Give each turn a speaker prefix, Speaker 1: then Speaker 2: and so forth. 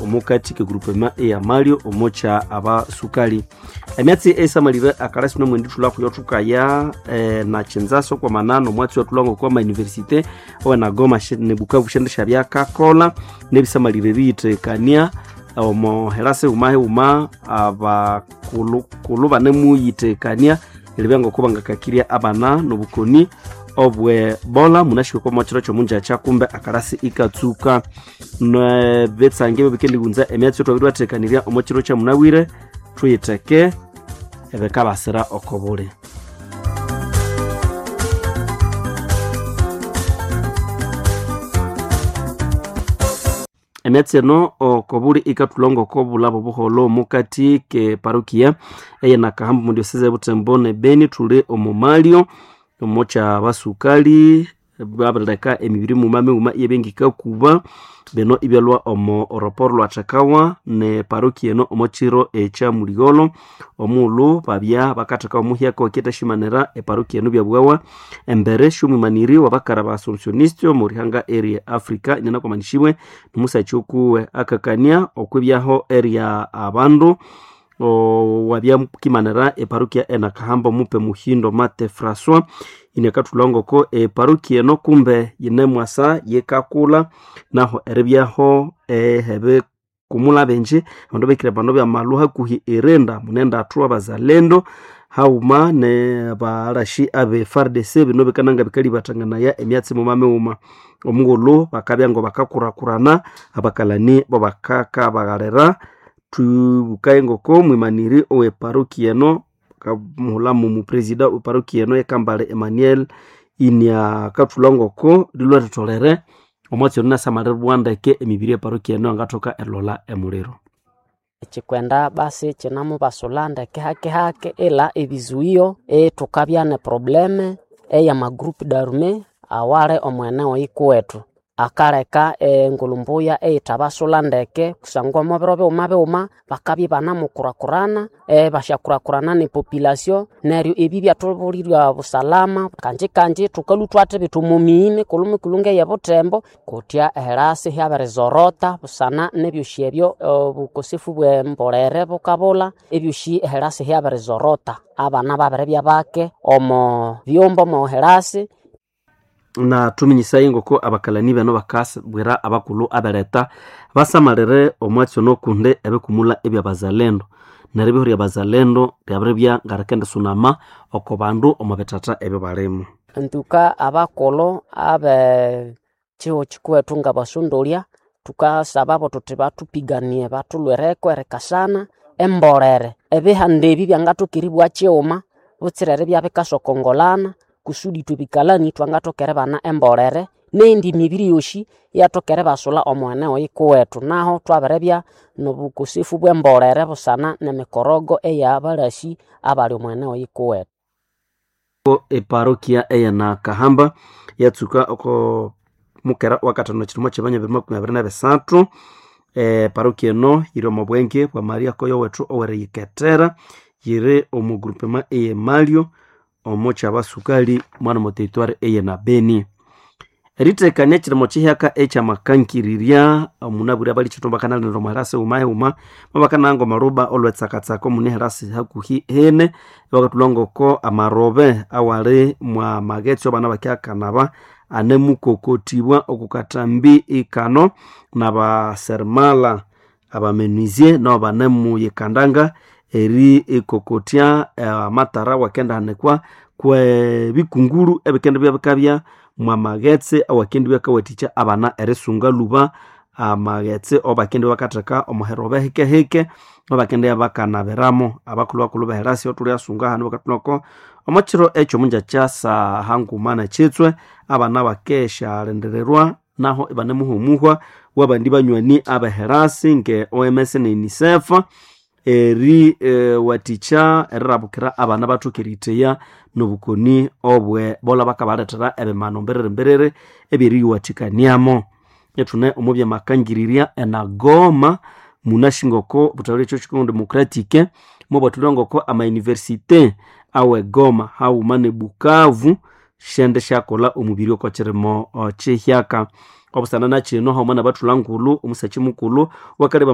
Speaker 1: omukati kegrupema eyamalyo omocha abasukali. Emyatsi esamalire akalasi nomwendi thulako yothukaya na chinzaso kwa manano omwatsi wathulango kwa ma university owe na Goma ne Bukavu shende shabyakakola nebisamalire biyitekania omo herase uma uma abakulukulu banemuyitekania eribya kubangakakirya abana nobukoni obwe bola munashika kwa mwachiro kyomunjacha kumbe akarasi ikatsuka nebetsange bebikendihunza emyatsi twabirwathekanirya omo kiro kyamunabwire thuyitheke ebikabasira okobuli. Emyatsi eno okobuli ikathulonga okobulabo buholho omukati ke parokia eyenakahambu mu diocese ya Butembo ne Beni. Thuli omu malyo omo basukali babirileka emibiri muma mighuma iyebengikakuba bino ibyalwa omo oroporo lwathekawa ne parokia eno omo kiro ekya muligholo omughulhu babya bakatheka omuhyaka wakithashimanira eparokia eno byabughawa embere syomwimaniri wabakara ba Assumptioniste omu rihanga erye Africa inanakwamanisibwe nomusakyi okuwe akakania okwibyaho erya abandu wabyakimanira eparokia enakahamba omupe Muhindo Mate François inakathulha eparokia eno kumbe yinemwasa yikakulha naho eribyaho ehebe kumula benji abandu bekire bano byamalhu hakuhi irinda munendathu abazalendo hauma ne balashi abe FARDC bino bikananga bikalibathanganaya emyatsi muma mighuma omughulhu bakabya ngo bakakurakurana abakalani bo bakakabaghalira. Thubukaye ngoko mwimaniri owe parokia eno kamuhulhamu mupresida we parokia eno yekambale Emmanuel inia kathulha ngoko lilwathitholere omwatsi ono inasamalirwa ndeke emibiri eparokia eno yangathoka erilholha emuliro.
Speaker 2: Kyikwenda basi kyinamubasulha ndeke hake hake ila ebizuio ithukabya ne probleme eya groupe d'armée awali omweneo yikuwethu akaleka engulumbuya eyithabasulha ndeke kusangwa omo biro bighuma bighuma bakabya ibanamukurakurana bashyakurakurana ne population neryo ebi byathubulirya busalama. Kanji kanji thukalhwa ithwathibitha omo miyi mikulhu mikulhu ngeye Butembo kutya eherasi hyabirizorota busana nebyosi ebyo obukosefu bwe mbolere bukabulha ebyosi eherasi hyabirizorota abana babiribya bake omo byumba omo herasi.
Speaker 1: Na thuminyisaye ngoko abakalani bano bakabwira abakulhu aberetha basamalire omwatsi ono kundi ebikumulha ebyabazalendo neryo ebihorya bazalendo byabiribya ngarikendisunama oko bandu omo bithatha ebyo balimu.
Speaker 2: Ntuka abakulhu abe kihugho kikuwethu ngabasondolya thukasababo thuthi bathupiganie bathulhwireko erikasana embolere ebihanda ebi byangathoka eribugha kighuma butsira eribya bikasokongolana kusudi ithwe bikalani thwangathoka eribana embolere neyindi mibiri yosi iyathoka eribasulha omweneo yikuwethu. Naho thwabiribya nobukosefu bwembolere busana nemikorogo eyabalasi abali omweneo yikuwethu.
Speaker 1: Eparokia eyenakahamba yatsuka oko mukera wakathanu ekirimo kyebanya 2023. Eparokia eno yiri omo bwenge bwa Maria Koyo wethu oweriyikethera yiri omu groupement eyemalyo omo kyabasukali mwana mo territoire eyena Beni. Eritekania ekirimo kihyaka ekyamakangirirya omunabwire abali kithumba bakanalinda omu herasi huma huma bakananga omaruba olwetsakatsaka omune herasi hakuhi hene bakathulha ngoko amarobe awali mwa magetsi abana bakyakanaba anemukokotibwa okukatambi ikano nabaseremala abamenuisier nabo banemuyikandanga eri ikokotya amatara wakendahanikwa kwebikunguru ebikendibya bikabya mwa maghetse awakendibya kawathikya abana erisunga lhuba amaghetse obakendibya bakatheka omuherobe hikehike obakendibya bakanabiramo. Abakulhu bakulhu beherasi othulyasunga hanu bakathulhako omo kiro ekyo munjakya saha nguma nekyitswe abana bakesyalindirirwa naho ibanemuhumuhwa wabandi banywani abeherasi nge OMS ne UNICEF eri wathikya erirabukira abana bathoke eritheya nobukoni obwe bola bakabalethera ebimano mbiriri mbiriri ebyeriyiwathikaniamo. Ithune omo byamakangirirya enagoma munashingoko buthalire ekyo Congo Democratic mubwathulha ngoko ama université awe Goma haghuma ne Bukavu syende syakolha omubiri oko kirimo kihyaka. Obusana nakino haghuma nabathulha ngulhu omusakyi mukulhu wakaleba.